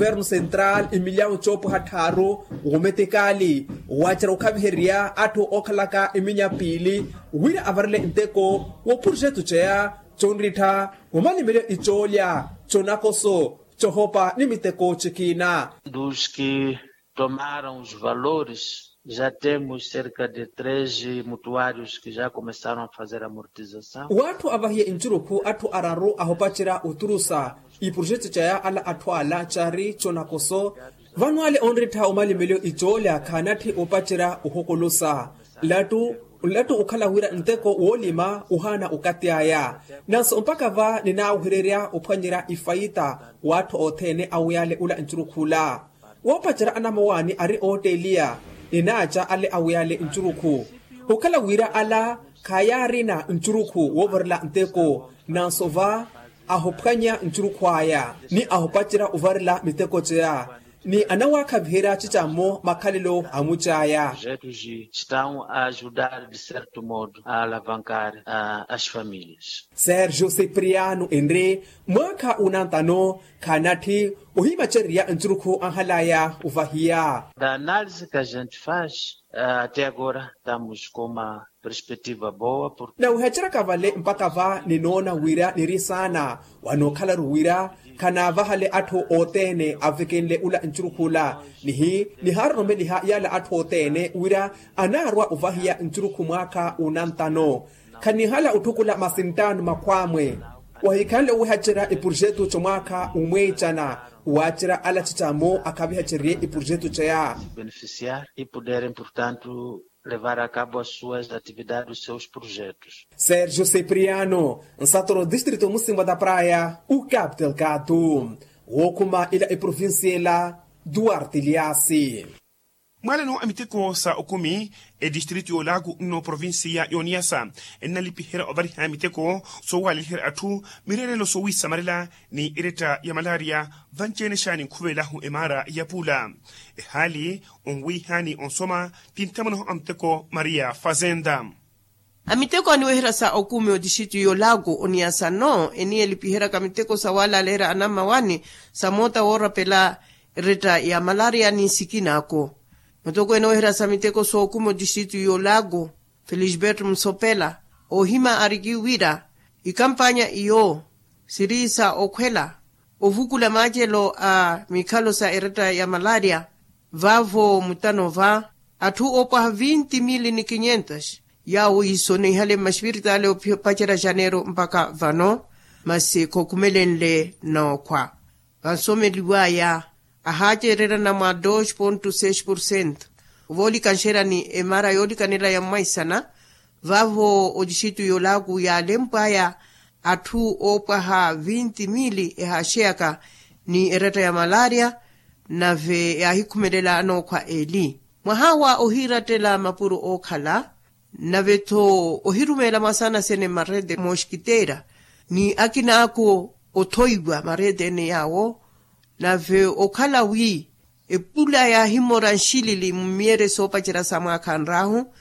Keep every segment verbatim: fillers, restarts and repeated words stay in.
Kuvernu sentral imilyawu coopwaha tthaaru, wumetikaali waacerya wukhaviherya atthu ookhalaka iminya piili wira avarele nteko wo purjetu ceya conrittha wamalimelyo icoolya conakoso cohopa ni miteko cikiina. Dos que tomaram os valores, já temos cerca de treze mutuários que já começaram a fazer amortização. W'atthu avahiye ncurukhu atthu araru ahopacerya oturusa ipurjetu caya ala atthu ala cari conakoso. Vano ale onrittha omalimelyo icoolya khaanatthi opacerya ohokolosa. Nlattu nlattu okhala wira nteko woolima ohaana okati aya. Nanso mpakha va ninaawehererya ophwanyerya ifaita w'atthu othene awiyale ula ncurukhula. Woopacerya anamawaani ari ootteliya ninaaca ale awiyale ncurukhu. Okhala wira ala khaayaarina ncurukhu woovarela nteko nanso va ahophwanya ncurukhu aya ni ahopacerya ovarela miteko ceya ni anawaakhaviherya cicammo makhalelo a mucaya. Projetos estão a ajudar de certo modo a alavancar as famílias. Sergio cipriano enre mwaakha unantano khaanatthi ohimacererya ncurukhu anhalaya ovahiya. Da análise que a gente faz, até agora estamos com uma perspectiva boa. Nawihaceraka vale mpakha va ninoona wira niri saana wanookhala-ru wira khanaavahale atthu othene avekenle ula ncurukhula nihi nihaaroromeliha yaala atthu othene wira anaarwa ovahiya ncurukhu mwaakha unantano. Khanihala otthukula masinttaano makhwaamwe wahikhanle owihacerya epurjetu comwaakha umweecana waacerya ala cicammo akhavihacererye epurjetu ceya. Beneficiar e puderem portanto levar a cabo as suas atividades os seus projetos. Sergio cipriano nsatoro distrito musimwa da praia o captel gato. Wookhuma ila eprovincia ela duarte liasi. Mwaalano a miteko sa okumi etistrito y'olaku nno provincia y'oniyasa ennalipiherya ovariha miteko soowalaliherya atthu mireerelo soowisamarela ni eretta ya malaria. Vanci-ene xaani nkhuvelahu emaara ya pula ehaali onwiihani onsoma ti nthamonaho a miteko maria fazenda. A miteko aniweherya sa okumi otixitu y'olaku oniyasa nno eniyelipiheryaka miteko sawalaleerya anammawaani sa moota woorapela eretta ya malaria ni nsikina ako. Mutokweene oweherya sa miteko sookumi otixitu y'olaku felisberto musopela oohima ariki wira ikampanya iyo siri sa okhwela ovukula maacelo a mikhalo sa eretta ya malaria. Vaavo mutano va atthu oopwaha vinti mili ni kinyentas yaawo yiisoneihale mmaxipiritaali opacerya janeiro mpakha vano masi khookumelenle nookhwa vansomeliwaya ahaacererya namwa dos ponto seis porcento. Voolikanxerya ni emaara yoolikanela ya mwaisana vaavo otixitu y'olaku yaalempwaya atthu oopwaha vinti mili ehaaxeyaka ni eretta ya malaria nave yaahikhumelela anookhwa eli mwaha wa ohiirattela mapuro ookhala nave-tho ohirumeela mwasaana sene marete moskiteera ni akina ako othoiwa marete ene yaawo nave okhala wi epula yaahimora nxilili mumiyere soopacerya sa mwaakha nraahu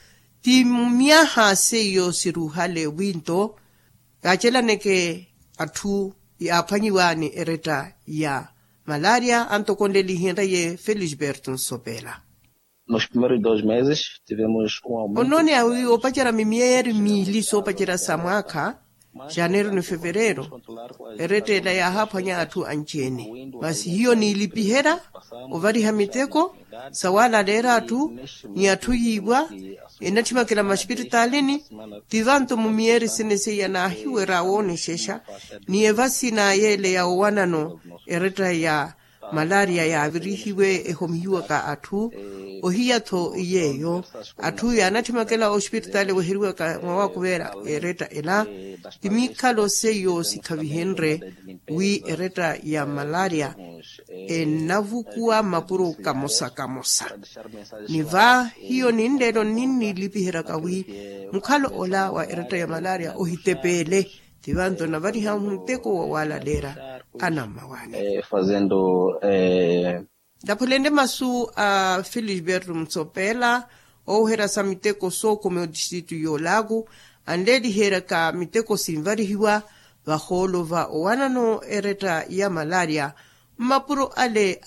ti mumyaha seiyo siruhale winto yaacelaneke atthu yaaphwanyiwa ni eretta ya malaria antokonlelihenrye felisberto nsopela. Nos primeiros dois meses tivemos um aumento. Onoone awi oopacerya mimiyeri miili soopacerya sa mwaakha janeiro ni fevereiro eretta ela yaahaaphwanya atthu anci-ene masi hiyo niilipiherya ovariha miteko sawalaleerya atthu ni atthu yiiwa enatthimyakela mmaxipiritalini. Ti vanto mumiyeri sene seiya naahiwerya woonexexa ni evasi na yeele ya owanano eretta ya malaria yaavirihiwe ehomihiwaka atthu ohiya-tho yeeyo atthu yaanatthimyakela oxipiritaali oweheriwaka mwawakuveera eretta ela ti mikhalo seiyo sikhavihenrye wi eretta ya malaria ennavukuwa mmapuro kamosa kamosa. Ni va hiyo ninleelo nninnilipiheryaka wi mukhalo ola wa eretta ya malaria ohitepeele ti vanto navariha muteko wawalaleerya anammawaani. Fazendo. Ndaphulenle masu a felisberto mutsopela ooweherya sa miteko sookumi otixitu y'olaku anleeliheryaka miteko sinvarihiwa vahoolo va owanano eretta ya malaria mmapuro ale